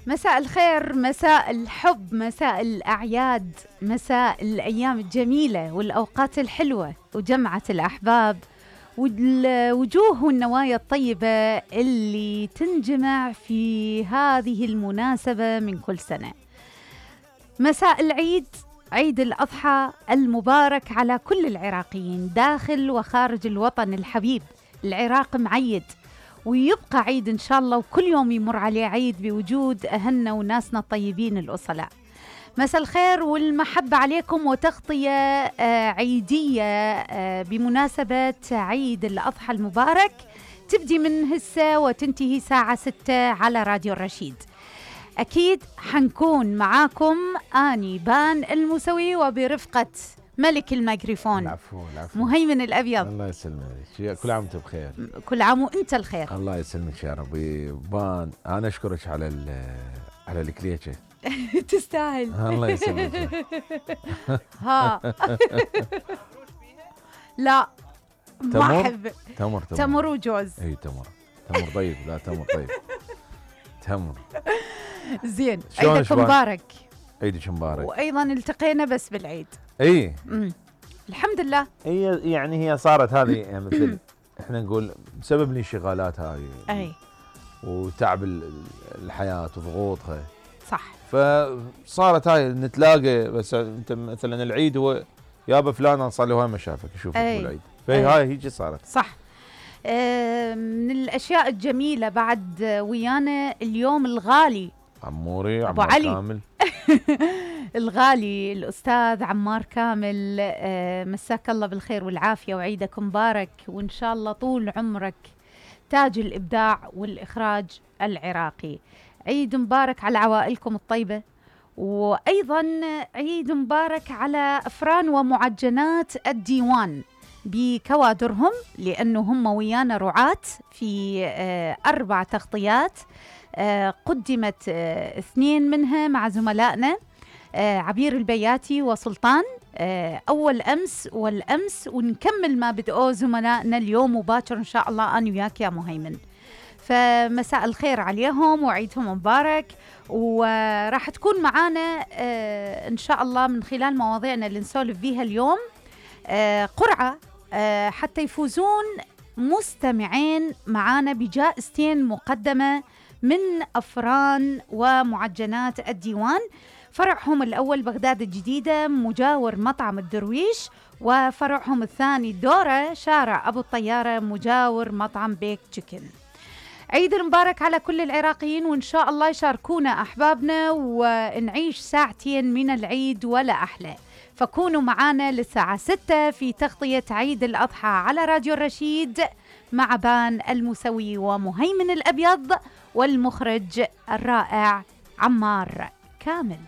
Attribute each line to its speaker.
Speaker 1: مساء الخير، مساء الحب، مساء الأعياد، مساء الأيام الجميلة والأوقات الحلوة وجمعة الأحباب والوجوه والنوايا الطيبة اللي تنجمع في هذه المناسبة من كل سنة. مساء العيد، عيد الأضحى المبارك على كل العراقيين داخل وخارج الوطن الحبيب. العراق معيد ويبقى عيد إن شاء الله، وكل يوم يمر عليه عيد بوجود أهلنا وناسنا الطيبين الأصلاء. مساء الخير والمحبة عليكم، وتغطية عيدية بمناسبة عيد الأضحى المبارك تبدي من هسه وتنتهي الساعة 6 على راديو الرشيد. أكيد حنكون معاكم آني بان الموسوي وبرفقة ملك الميكروفون
Speaker 2: العفو
Speaker 1: مهيمن الأبيض.
Speaker 2: الله يسلمك، كل عام وانت بخير.
Speaker 1: كل عام وانت الخير.
Speaker 2: الله يسلمك يا ربي. بان أنا أشكرك على الكليكة.
Speaker 1: تستاهل.
Speaker 2: الله يسلمك.
Speaker 1: ها لا ما أحب تمر وجوز.
Speaker 2: اي تمر طيب، لا تمر طيب. تمر
Speaker 1: زين. عيدك مبارك.
Speaker 2: عيدك مبارك.
Speaker 1: وايضا التقينا بس بالعيد.
Speaker 2: اي
Speaker 1: الحمد لله.
Speaker 2: هي صارت هذه يعني مثل احنا نقول بسبب الانشغالات هذه
Speaker 1: اي
Speaker 2: وتعب الحياه وضغوطها.
Speaker 1: صح.
Speaker 2: فصارت هاي نتلاقى، بس انت مثلا العيد هو يابا فلان صار له هاي ما شافك اشوفك بالعيد، فهي هاي هيجي صارت.
Speaker 1: صح. من الاشياء الجميله بعد ويانا اليوم الغالي
Speaker 2: عموري
Speaker 1: أبو علي
Speaker 2: كامل.
Speaker 1: الغالي الأستاذ عمار كامل. مساك الله بالخير والعافية وعيدك مبارك، وإن شاء الله طول عمرك تاج الإبداع والإخراج العراقي. عيد مبارك على عوائلكم الطيبة، وأيضا عيد مبارك على أفران ومعجنات الديوان بكوادرهم، لأنه هم ويانا رعاة في 4 تغطيات قدمت 2 منها مع زملائنا عبير البياتي وسلطان أول أمس والأمس، ونكمل ما بدأوه زملائنا اليوم وباكر إن شاء الله أنا وياك يا مهيمن. فمساء الخير عليهم وعيدهم مبارك. وراح تكون معانا إن شاء الله من خلال مواضيعنا اللي نسولف بيها اليوم قرعة حتى يفوزون مستمعين معانا بجائزتين مقدمة من أفران ومعجنات الديوان. فرعهم الأول بغداد الجديدة مجاور مطعم الدرويش، وفرعهم الثاني دورة شارع أبو الطيارة مجاور مطعم بيك تشيكن. عيد المبارك على كل العراقيين، وإن شاء الله يشاركونا أحبابنا ونعيش ساعتين من العيد ولا أحلى. فكونوا معانا للساعة 6 في تغطية عيد الأضحى على راديو الرشيد مع بان الموسوي ومهيمن الأبيض والمخرج الرائع عمار كامل.